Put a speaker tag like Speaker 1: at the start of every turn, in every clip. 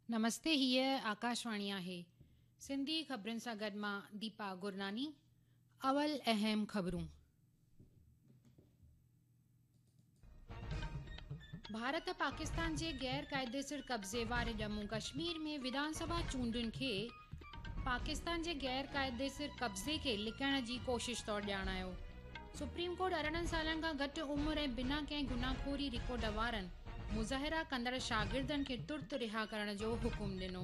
Speaker 1: نمستي هيء آڪاشواڻي آهي. سنڌي خبرن سان گڏ مان ديپا گرناني. اول اهم خبرون. ڀارت پاڪستان جي غير قاعديسر قبضي واري ڄمون ڪشمير ۾ وڌان سڀا چونڊن کي پاڪستان جي غير قاعديسر قبضي کي لڪائڻ جي ڪوشش طور ڄاڻايو. سپريم ڪورٽ 18 سالن کان گهٽ عمر ۽ بنا ڪنهن گناهخوري رڪارڊ وارن مظاهرا ڪندڙ شاگردن کي ترت رها ڪرڻ جو حڪم ڏنو.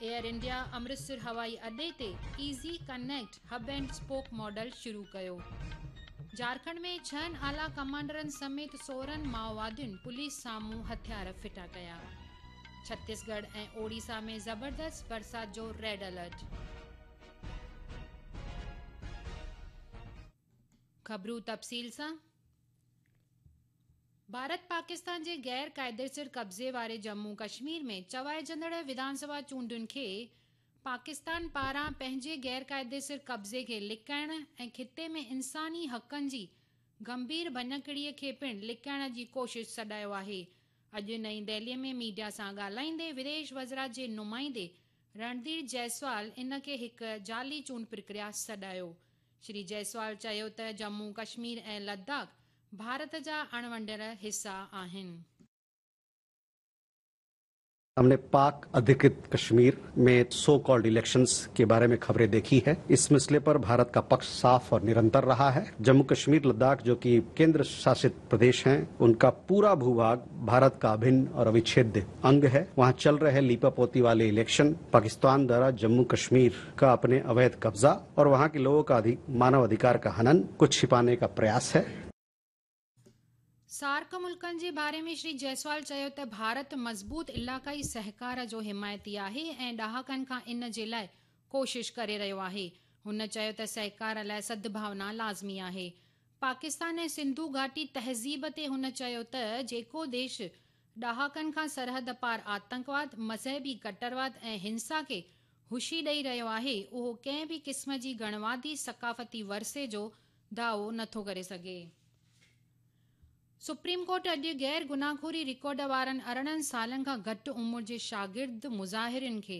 Speaker 1: ايئر انڊيا امرتسر هوائي اڏي تي easy connect hub and spoke model شروع ڪيو. جهارکنڊ ۾ ڇهن اعليٰ ڪمانڊرن سميت 16 مائووادين پوليس سامهون هٿيار ڦٽا ڪيا. ڇتيسڳڙهه ۽ اوڙيسا ۾ زبردست برسات جو ريڊ الرٽ. خبرون تفصيل سان، ڀارت پاڪستان جي غير قاعديسر قبضي واري ڄمون ڪشمير ۾ چوائجندڙ وڌان سڀا چونڊن کي پاڪستان پاران پنهنجي غير قاعديسر قبضي کي لڪائڻ ۽ خطي ۾ انساني حقن جي گنڀير ڀڃڪڙي کي پڻ لڪائڻ جي ڪوشش سڏايو آهي. اڄ نئين دهلي ۾ ميڊيا سان ڳالهائيندي وديش وزارت جي نمائندي رڻڌير جئسوال ان کي هڪ جعلي چونڊ پرڪريا سڏايو. شري جئسوال چيو ته ڄمون ڪشمير ۽ لداخ ڀارت جا اڻونڊيل حصا آهن.
Speaker 2: हमने पाक अधिकृत कश्मीर में सो कॉल्ड इलेक्शंस के बारे में खबरें देखी है। इस मसले पर भारत का पक्ष साफ और निरंतर रहा है। जम्मू कश्मीर लद्दाख जो कि केंद्र शासित प्रदेश हैं, उनका पूरा भूभाग भारत का अभिन्न और अविच्छेद्य अंग है। वहां चल रहे लीपापोती वाले इलेक्शन, पाकिस्तान द्वारा जम्मू कश्मीर का अपने अवैध कब्जा और वहां के लोगों का मानव अधिकार का हनन को छिपाने का प्रयास है।
Speaker 1: سارڪ ملڪن جي باري ۾ شري جئسوال چيو ته ڀارت مضبوط علائقائي سهڪار جو حمايتي آهي ۽ ڏهاڪن کان ان جي لاء ڪوشش ڪري رهيو آهي. هن چيو ته سهڪار لاء سدڀاونا لازمي آهي. پاڪستان ۽ سنڌو گهاٽي تهذيب تي هن چيو ته جيڪو ديش ڏهاڪن کان سرحد پار آتنڪواد، مذهبي ڪٽرواد ۽ هنسا کي هشي ڏئي رهيو آهي، اهو ڪنهن به قسم جي گڻوادي ثقافتي ورثي جو دعوو نٿو ڪري سگهي. سپريم ڪورٽ اڄ غير گناهخوري رڪارڊ وارن 18 سالن کان گهٽ عمر جي شاگرد مظاهرين کي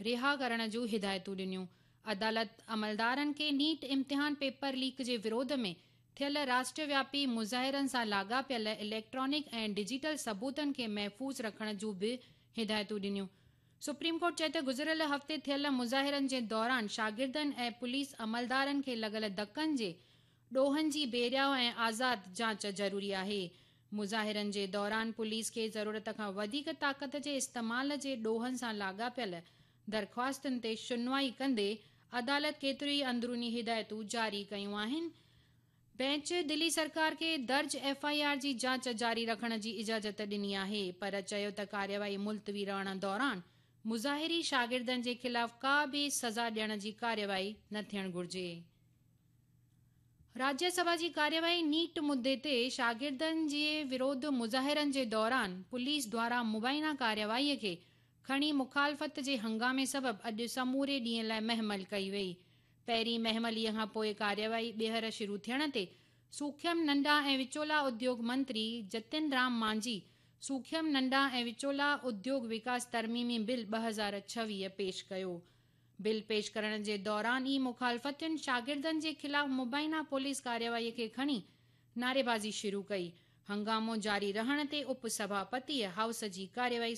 Speaker 1: رها ڪرڻ جون هدايتون ڏنيون. عدالت عملدارن کي نيٽ امتحان پيپر ليڪ جي وروڌ ۾ ٿيل راشٽروياپي مظاهرن سان لاڳاپيل اليڪٽرانڪ ۽ ڊجيٽل ثبوتن کي محفوظ رکڻ جون به هدايتون ڏنيون. سپريم ڪورٽ چيو ته گذريل هفتي ٿيل مظاهرن جي دوران شاگردن ۽ پوليس عملدارن کي لڳل ڌڪن جي ڏوهن جي بيرياء ۽ آزاد جاچ ضروري آهي. مظاهرن جي دوران پوليس کي ضرورت کان وڌيڪ طاقت جي استعمال جي ڏوهن سان لاڳاپيل درخواستن تي شنوائي ڪندي عدالت ڪيتريون ئي اندروني هدايتون جاري ڪيون آهن. بينچ دلي سرڪار کي درج ايف I R جي جاچ جاري رکڻ جي اجازت ڏني آهي پر چيو ته ڪارروائي ملتوي رهڻ دوران مظاهري شاگردن جي خلاف ڪا به سزا ڏيڻ جي ڪارروائي نه ٿيڻ گهرجي. راجيه سڀا جي ڪارروائي نيٽ مدي تي شاگردن جي وروڌ مظاهرن جي دوران پوليس دواران مبينا ڪارروائي کي کڻي مخالفت جي هنگامي سبب اڄ سموري ڏينهن لاء مهمل ڪئي وئي. پهرين مهملي کان پوء ڪارروائي ٻيهر شروع ٿيڻ تي سوکيم ننڍا ۽ وچولا اديوگ منتري جتن رام مانجهي سوکيم ننڍا ۽ وچولا اديوگ وڪاس ترميمي بل 2026 پيش ڪيو. بل پيش ڪرڻ جي دوران ئي مخالفتين شاگردن جي خلاف مبينا پوليس ڪارروائي کي کڻي نعريبازي شروع ڪئي. هنگامو جاري رهڻ تي اپ سڀاپتيء هائوس جي ڪارروائي